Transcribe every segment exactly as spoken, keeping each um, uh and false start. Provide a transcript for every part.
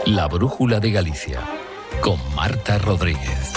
La Brújula de Galicia, con Marta Rodríguez.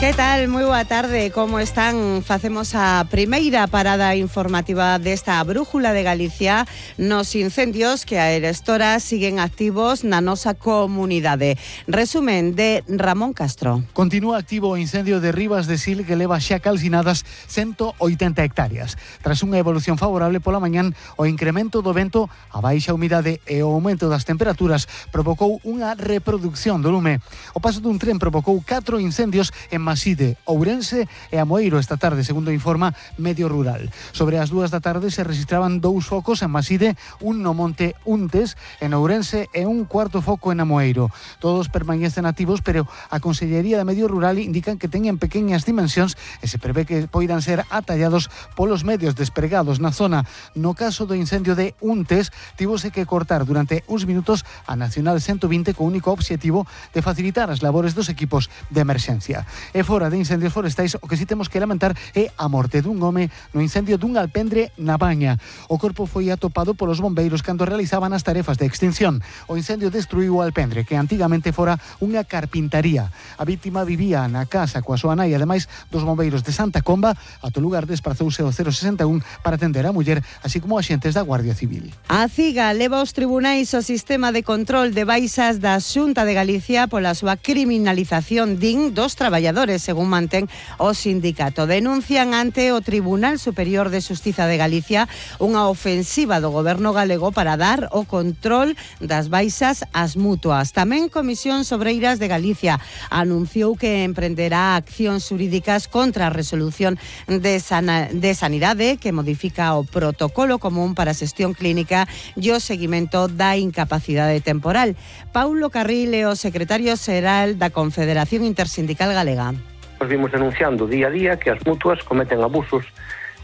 Que tal? Moi boa tarde, como están? Facemos a primeira parada informativa desta Brújula de Galicia nos incendios que a Erestora siguen activos na nosa comunidade. Resumen de Ramón Castro. Continúa activo o incendio de Rivas de Sil que leva xa calcinadas ciento oitenta hectáreas. Tras unha evolución favorable pola mañán, o incremento do vento, a baixa humidade e o aumento das temperaturas provocou unha reproducción do lume. O paso dun tren provocou catro incendios en Maside, Ourense e Amoeiro esta tarde, segundo informa Medio Rural. Sobre as dúas da tarde se registraban dous focos en Maside, un no Monte Untes, en Ourense e un cuarto foco en Amoeiro. Todos permanecen activos, pero a Consellería de Medio Rural indican que teñen pequeñas dimensións e se prevé que poidan ser atallados polos medios despregados na zona. No caso do incendio de Untes, tivose que cortar durante uns minutos a Nacional ciento vinte co único obxectivo de facilitar as labores dos equipos de emerxencia. E fora de incendios forestais, o que si temos que lamentar é a morte dun home no incendio dun alpendre na Baña. O corpo foi atopado polos bombeiros cando realizaban as tarefas de extinción. O incendio destruiu o alpendre, que antigamente fora unha carpintaría. A vítima vivía na casa coa súa nai, ademais dos bombeiros de Santa Comba. Ata o lugar desprazouse o cero sesenta e un para atender a muller, así como axentes da Guardia Civil. A CIGA leva aos tribunais o sistema de control de baixas da Xunta de Galicia pola súa criminalización, din, dos traballadores, según mantén o sindicato. Denuncian ante o Tribunal Superior de Xustiza de Galicia unha ofensiva do goberno galego para dar o control das baixas ás mutuas. Tamén Comisións Obreiras de Galicia anunciou que emprenderá accións xurídicas contra a resolución de, sana, de Sanidade que modifica o protocolo común para a xestión clínica e o seguimento da incapacidade temporal. Paulo Carril é o secretario xeral da Confederación Intersindical Galega. Nos vimos denunciando día a día que as mutuas cometen abusos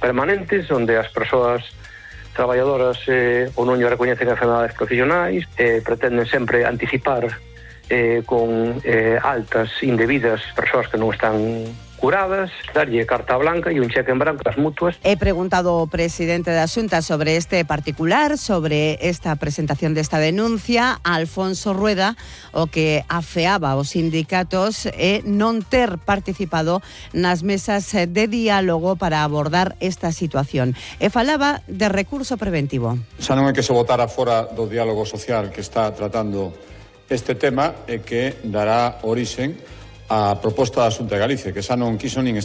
permanentes onde as persoas traballadoras eh, ou non lle recoñecen enfermedades profesionais, eh, pretenden sempre anticipar eh, con eh, altas indebidas persoas que non están curadas, darlle carta blanca e un cheque en branco ás mutuas. He preguntado ao presidente da Xunta sobre este particular, sobre esta presentación desta denuncia, a Alfonso Rueda, o que afeaba aos sindicatos e non ter participado nas mesas de diálogo para abordar esta situación. E falaba de recurso preventivo. Xa non é que se votara fora do diálogo social que está tratando este tema e que dará orixen a proposta da Xunta de Galicia, que xa non quiso nin